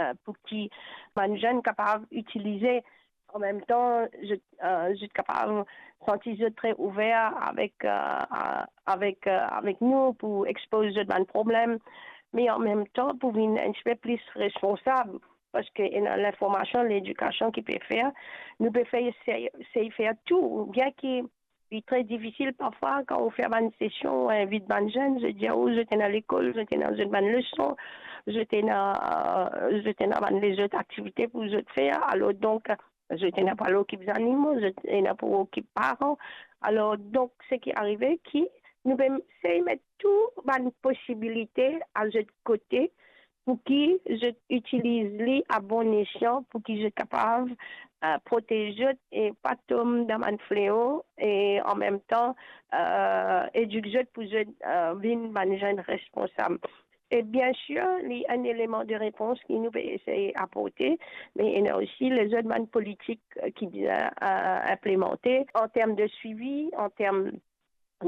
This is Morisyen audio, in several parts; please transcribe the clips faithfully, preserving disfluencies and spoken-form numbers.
eh, pou ki bann zenn kapav itilize. An mem tan, zot, eh, zot kapav santi zot tre ouver avek, eh, a-, avek, eh, avek nou pou expoz zot bann problem, me an mem tan pou vinn enn tipe plis responsab, parski ena linformasion, ledikasion ki pe fer, nou pe fer, sey, sey fer tou, bien ki li tre difisil parfwa kan ou fer bann sesion, ou invit bann zenn, zot dir ou zot ena lekol, zot ena zot bann leson, zot ena, eh, zot ena bann lezot aktivite pou zot fer. Alor donk, zot ena pou al okip zanimo, zot ena pou okip paran. Alor donk, seki arive ki nou pe sey met tou bann posibilite a zot kote pou ki zot itiliz li a bon esyan, pou ki zot kapav, eh, protez zot e pa tom dan bann fleo, e an mem tan, eh, edik zot pou zot, eh, vinn bann zenn responsab. E bien sir, li enn eleman de repons ki nou pe esey aporte, me ena osi lezot bann politik, eh, ki bizin, eh, inplemante an term de swivi, an term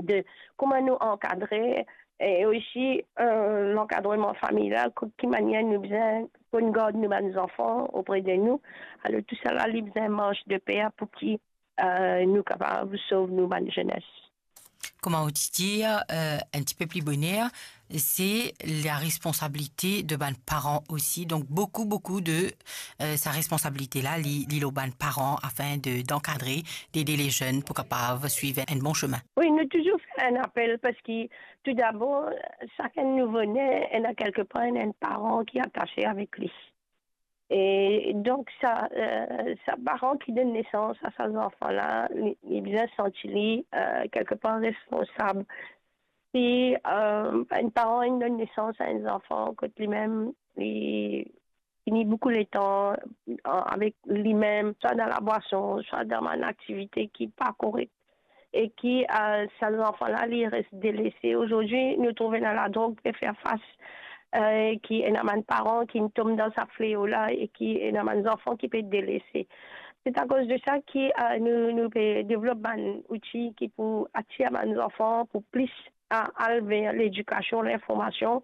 de kouma nou ankadre, e osi, eh, lankadreman familial, ki manier nou bizin pran gard nou bann zanfan opre de nou. Alor, tousala, li bizin mars de per pou ki, eh, nou kapav sov nou bann zenes. Kouma ou ti dir, eh, enn tipe pli boner, se la responsabilite de bann paran osi. Donk, boukou, boukou de, eh, sa responsabilite la, li, li lor bann paran afin de, d'ankadre, d'ede le zenn pou kapav swiv enn bon semin. Wi, nou touzour fer enn apel parski, toudabor, sakenn nouvo-ne ena kelkepar enn, enn paran ki atase avek li. E donk, sa, eh, sa paran ki donn nesans a sa zanfan la, li, li bizin santi li, eh, kelkepar responsab. Si, eh, enn paran inn donn nesans a enn zanfan kot limem, li fini boukou letan, eh, avek limem, swa dan labwason, swa dan bann aktivite ki pa korek, e ki, eh, sa zanfan la, li res delese. Azordi, nou trouve ena ladrog pe fer fas, eh, ki ena bann paran ki tom dan sa fleo la e ki ena bann zanfan ki pe delese. Se akoz de sa ki, eh, nou, nou pe devlop bann outi ki pou atir bann zanfan pou plis a-, al ver ledikasion, linformasion,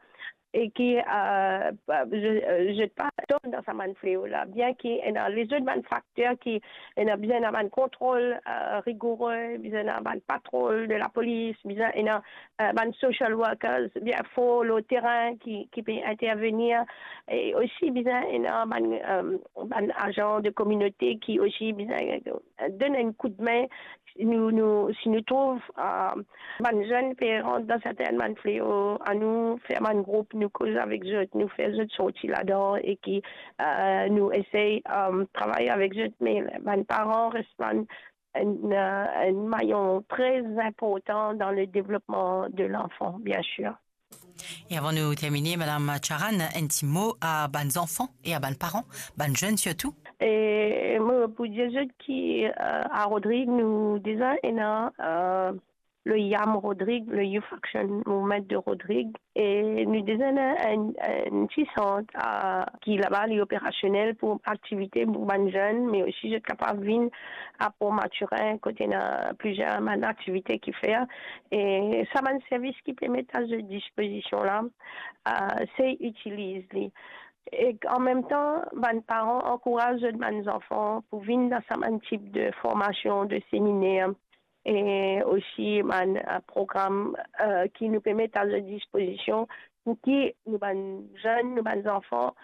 e ki, eh, pa, zot, zot pa tom dan sa bann fleo la, bien ki ena lezot bann fakter ki ena bizin ena bann kontrol, eh, rigoure, bizin ena bann patrol de lapolis, bizin ena, eh, bann social workers bien for lor terin ki, ki pe intervenir, e osi bizin ena bann, eh, bann azan de kominote ki osi bizin, eh, donn enn koudme. Si nou, nou, si nou trouv, eh, bann zenn pe rant dan sertin bann fleo, anou fer bann group, nou koz avek zot, nou fer zot sorti ladan e ki, eh, nou esey, eh, travay avek zot, me bann paran res bann, enn, eh, enn mayon tre inportan dan le devlopman de lanfan, bien sir. E avan nou termine, Madam Charan, enn ti mo a bann zanfan e a bann paran, bann zenn sirtou? E mo pou dir zot ki, eh, a Rodrig, nou deza ena, eh, le YAM Rodrig, le Youth Action Movement de Rodrig, e nou deza ena enn, enn ti sant, eh, ki laba li operasionel pou aktivite pou bann zenn, me osi zot kapav vinn a Port Mathurin, kot ena plizier bann aktivite ki fer. E sa bann servis ki pe met a zot dispozision la, eh, se itiliz li. E an mem tan, bann paran ankouraz zot bann zanfan pou vinn dan sa bann tip de formasion, de seminer, e osi bann, eh, program, eh, ki nou pe met a zot dispozision pou ki nou bann zenn, nou bann zanfan,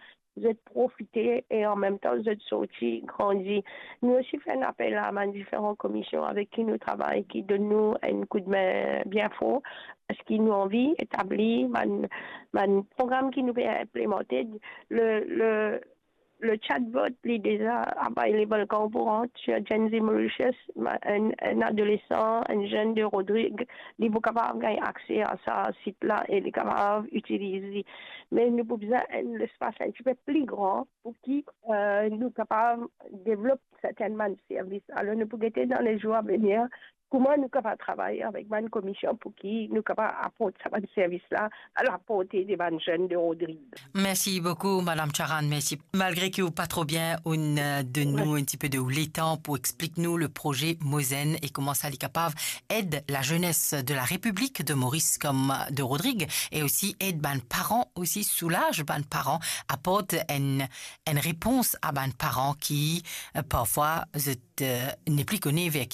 zot profite e an mem tan zot sorti grandi. Nou osi fer enn apel a bann diferan komision avek ki nou travay, ki donn nou enn koudme bien for, parski nou anvi etabli bann, bann program ki nou pe inplemante. Le, le, le chatbot, li deza available kan ou pou rant sur Gen Z Mauritius, ma-, enn, enn adolesan, enn zenn de Rodrig, li pou kapav gagn akse a sa sit la e li kapav itiliz li. Me nou pou bizin enn lespas enn tipe pli gran pou ki, eh, nou kapav devlop sertin bann servis. Alor, nou pou gete dan le zour a venir kouma nou kapav travay avek bann komision pou ki nou kapav aport sa bann servis la, a la porte de bann zenn de Rodrig. Mersi boukou, Madam Charan, mersi. Malgre ki ou pa tro bien, ou'nn, euh, donn nou enn tipe de ou letan pou explik nou le proze Mo Zenn e kouma sa li kapav ed la jeunesse de la République de Maurice comme de Rodrig, e osi ed bann paran, osi soulaz bann paran, aport enn, enn repons a bann paran ki, euh, parfwa, zot, euh, nepli kone ver